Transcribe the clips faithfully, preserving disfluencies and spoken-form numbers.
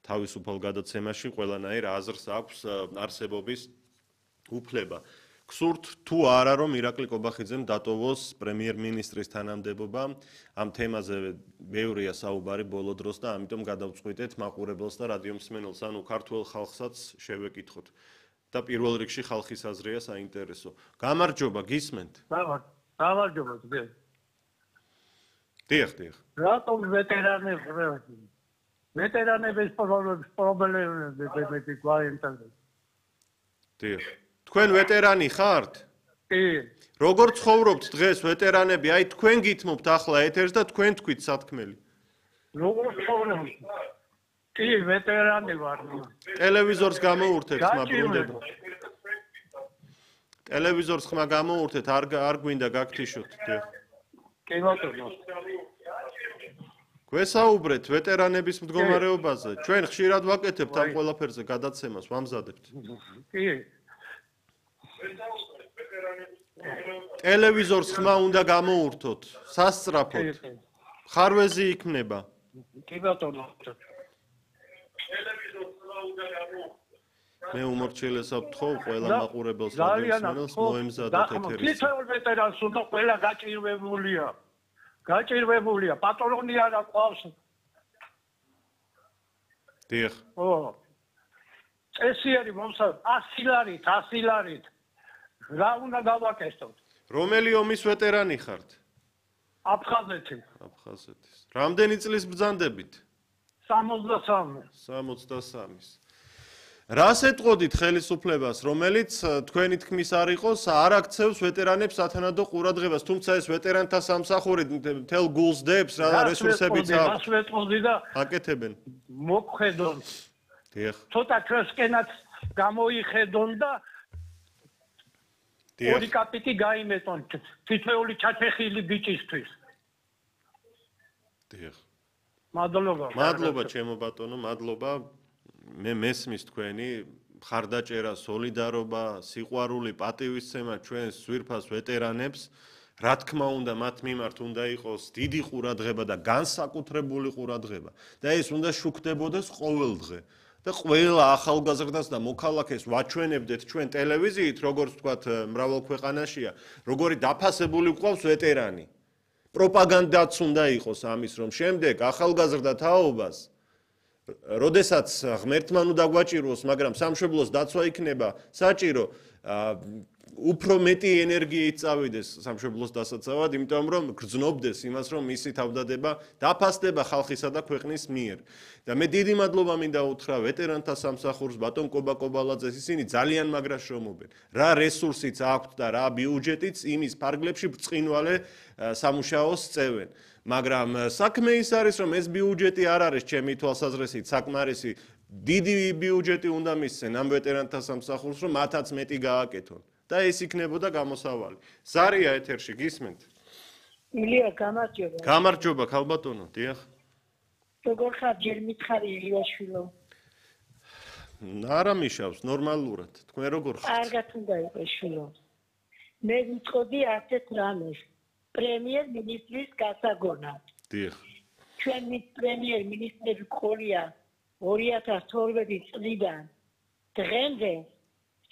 თავისუფალ გადაცემაში ყველანაირ აზრს აქვს არსებობის უფლება. გსურთ თუ არა რომ ირაკლი კობახიძემ დატოვოს პრემიერ-მინისტრის თანამდებობა, ამ თემაზე ბევრია საუბარი ბოლო დროს და ამიტომ გადავწყვიტეთ მაყურებელს და რადიომსმენელს, ანუ ქართულ ხალხსაც შევეკითხოთ. და პირველ რიგში ხალხის აზრია საინტერესო. გამარჯობა, გისმენთ? გამარჯობა, დიახ. დიახ, დიახ. რატომ ვეტერანებს ვეტერანების პრობლემები მეტი გვაინტერესებს? დიახ. თქვენ ვეტერანი ხართ? კი. როგორ ცხოვრობთ დღეს ვეტერანები? აი თქვენ გითმობთ ახლა ეთერს და თქვენ თქვით სათქმელი. როგორ ცხოვრობთ? კი, ვეტერანი ვარ. ტელევიზორს გამოურთეთ, ხმა ბრუნდება. ტელევიზორს ხმა გამოურთეთ, არ არ გვინდა გაგთიშოთ, დიახ. კი ბატონო. გვესაუბრეთ ვეტერანების მდგომარეობაზე. ჩვენ ხშირად ვაკეთებთ ამ ყველაფერზე გადაცემას, ვამზადებთ. კი. ტელევიზორს ხმა უნდა გამოურთოთ, სასწრაფოდ. ხარვეზი იქმნება. კი ბატონო. მე უმორჩილესად ვთხოვ ყველა მაყურებელს და მსმენელს მოემზადოთ ეთერის. თითოეულ ვეტერანს უნდა ყველა გაჭირვებულია. გაჭირვებულია, პატრონი არა ყავს. დიახ. ო. წესიერი მომსა ასი ლარით, ასი ლარით. რა უნდა გავაკეთოთ? რომელი ომის ვეტერანი ხართ? აფხაზეთი. აფხაზეთის. რამდენი წლის ბრძანდებით? სამოცდასამი. სამოცდასამის. რას ეტყოდით ხელისუფლებას, რომელიც თქვენი თქმის არ იყოს, არ აქცევს ვეტერანებს სათანადო ყურადღებას, თუმცა ეს ვეტერანთა სამსახური მთელ გულს დებს, რა რესურსებიც აქვს. რას ვეტყოდი და აკეთებენ. მოგხედონ. დიახ. ცოტა ჩვენსკენაც გამოიხედონ და დიახ. ორი კაპიტი გაიმეტონ თითოეული ჩაჩეხილი ბიჭისთვის. დიახ. მადლობა. მადლობა ჩემო ბატონო, მადლობა. მე მესმის თქვენი მხარდაჭერა, სოლიდარობა, სიყვარული, პატივისცემა ჩვენს ძვირფას ვეტერანებს. რა თქმა უნდა, მათ მიმართ უნდა იყოს დიდი ყურადღება და განსაკუთრებული ყურადღება. და ეს უნდა შუქდებოდეს ყოველ დღე. და ყველა ახალგაზრდას და მოქალაქეს ვაჩვენებდეთ ჩვენ ტელევიზიით, როგორც ვთქვათ, მრავალ ქვეყანაშია, როგორი დაფასებული გვყავს ვეტერანი. პროპაგანდაც უნდა იყოს ამის, რომ შემდეგ ახალგაზრდა თაობას როდესაც ღმერთმა უნდა გვაჭიროს, მაგრამ სამშობლოს დაცვა იქნება საჭირო, უფრო მეტი ენერგიით წავიდეს სამშობლოს დასაცავად, იმიტომ რომ გრძნობდეს იმას, რომ მისი თავდადება დაფასდება ხალხისა და ქვეყნის მიერ. და მე დიდი მადლობა მინდა უთხრა ვეტერანთა სამსახურს, ბატონ კობა კობალაძეს, ისინი ძალიან მაგრა შრომობენ. რა რესურსიც აქვთ და რა ბიუჯეტიც იმის ფარგლებში ბრწყინვალე სამუშაოს წევენ. მაგრამ საქმე ის არის, რომ ეს ბიუჯეტი არ არის ჩემი თვალსაზრისით საკმარისი. დიდი ბიუჯეტი უნდა მისცენ ამ ვეტერანთა სამსახურს, რომ მათაც მეტი გააკეთონ. და ეს იქნებოდა გამოსავალი. ზარია ეთერში გისმენთ? ილია, გამარჯობა. გამარჯობა, ქალბატონო, დიახ. როგორ ხარ, ჯერ მითხარი ილიაშვილო? არა მიშავს, ნორმალურად. თქვენ როგორ ხართ? კარგად უნდა იყოს შვილო. მე ვიტყოდი ასეთ რამეს. პრემიერ-მინისტრის გასაგონად. დიახ. ჩვენი პრემიერ-მინისტრები ყოლია ორი ათას თორმეტი წლიდან დღემდე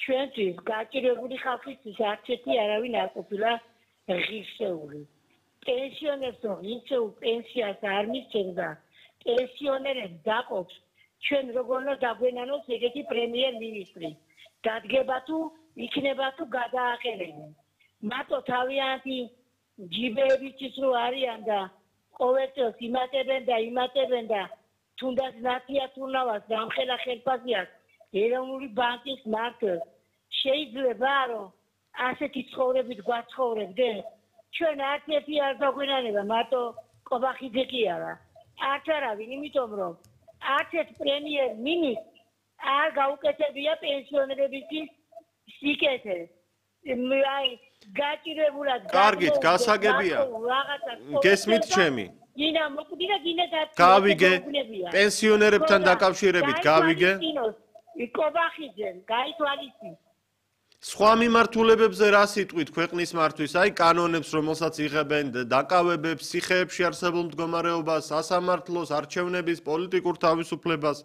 ჩვენთვის გაჭირვებული ხალხისთვის არც ერთი არავინ არ ყოფილა ღირსეული. პენსიონერს ღირსეულ პენსიას არ მისცემდა. პენსიონერებს დაყოფს ჩვენ როგორ უნდა დაგვენანოს ეგეთი პრემიერ-მინისტრი. დადგება თუ იქნება თუ გადააყენებენ. მარტო თავიანთი ჯიბეებიც რო არიან და ყოველწელს იმატებენ და იმატებენ და თუნდაც ნაცია თურნავას დამხელა ხელფასიას ეროვნული ბანკის მართლს შეიძლება რომ ასეთი ცხოვრებით გვაცხოვრებდნენ ჩვენ არც ერთი არ დაგვენანება მარტო კობახიძე კი არა არც არავინ იმიტომ რომ არც ერთ პრემიერ-მინისტრს არ გაუკეთებია პენსიონერებისთვის სიკეთე აი გაჭირებულად კარგით, გასაგებია. გესმით ჩემი? გინა მოკვდი და გინა დაწვა. გავიგე. პენსიონერებთან დაკავშირებით გავიგე. კობახიძემ გაითვალისწინე. სხვა მიმართულებებზე რა სიტყვით ქვეყნის მართვის, აი კანონებს, რომელსაც იღებენ დაკავებებს, სიხეებში არსებულ მდგომარეობას, სასამართლოს, არჩევნების, პოლიტიკურ თავისუფლებას